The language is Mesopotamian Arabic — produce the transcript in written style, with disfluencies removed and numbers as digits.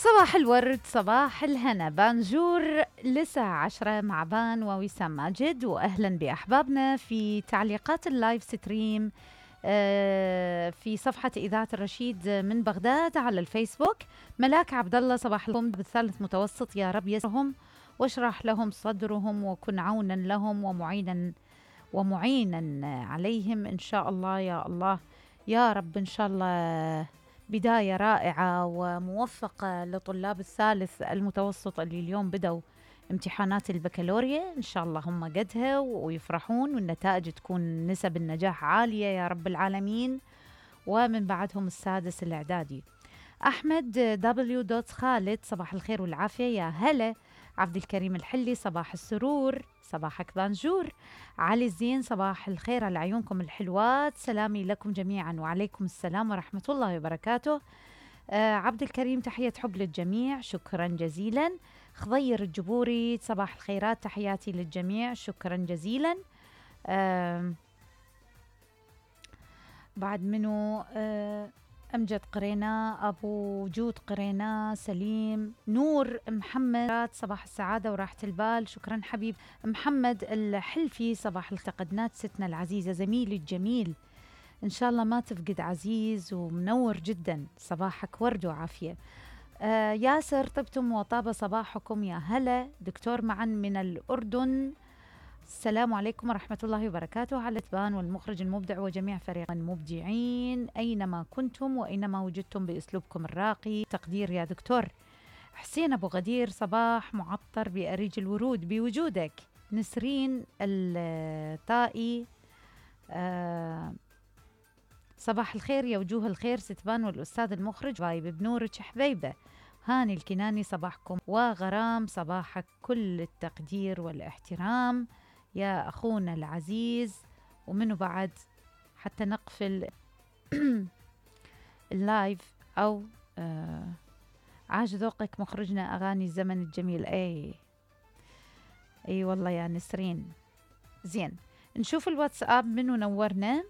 صباح الورد، صباح الهنا، بانجور لساعة 10 مع بان ووسام ماجد، وأهلا بأحبابنا في تعليقات اللايف ستريم في صفحة إذاعة الرشيد من بغداد على الفيسبوك. ملاك عبد الله، صباح لكم بالثالث متوسط، يا رب يسرهم واشرح لهم صدرهم وكن عونا لهم ومعينا عليهم إن شاء الله يا الله يا رب. إن شاء الله بداية رائعة وموفقة لطلاب الثالث المتوسط اللي اليوم بدوا امتحانات البكالوريا. إن شاء الله هم قدها ويفرحون والنتائج تكون نسب النجاح عالية يا رب العالمين. ومن بعدهم السادس الإعدادي. أحمد دبليو خالد، صباح الخير والعافية، يا هلا. عبد الكريم الحلي، صباح السرور، صباحك بانجور. علي الزين، صباح الخير على عيونكم الحلوات، سلامي لكم جميعا. وعليكم السلام ورحمة الله وبركاته. عبد الكريم، تحية حب للجميع، شكرا جزيلا. خضير الجبوري، صباح الخيرات، تحياتي للجميع، شكرا جزيلا. بعد منو أمجد قرينا، أبو جود قرينا، سليم، نور محمد، صباح السعادة وراحة البال، شكرا حبيب. محمد الحلفي، صباح التقدنات ستنا العزيزة، زميلي الجميل، إن شاء الله ما تفقد عزيز ومنور جدا، صباحك ورد وعافية. ياسر، طبتم وطاب صباحكم، يا هلا. دكتور معا من الأردن، السلام عليكم ورحمة الله وبركاته، على تبان والمخرج المبدع وجميع فريق المبدعين أينما كنتم وأينما وجدتم بأسلوبكم الراقي، تقدير يا دكتور. حسين أبو غدير، صباح معطر بأريج الورود بوجودك. نسرين الطائي، صباح الخير يا وجوه الخير ستبان والأستاذ المخرج غايب بنورك حبيبة. هاني الكناني، صباحكم وغرام، صباحك كل التقدير والاحترام يا أخونا العزيز. ومنه بعد حتى نقفل اللايف أو عاش ذوقك مخرجنا أغاني الزمن الجميل. أي والله يا نسرين. زين، نشوف الواتساب منه نورنا.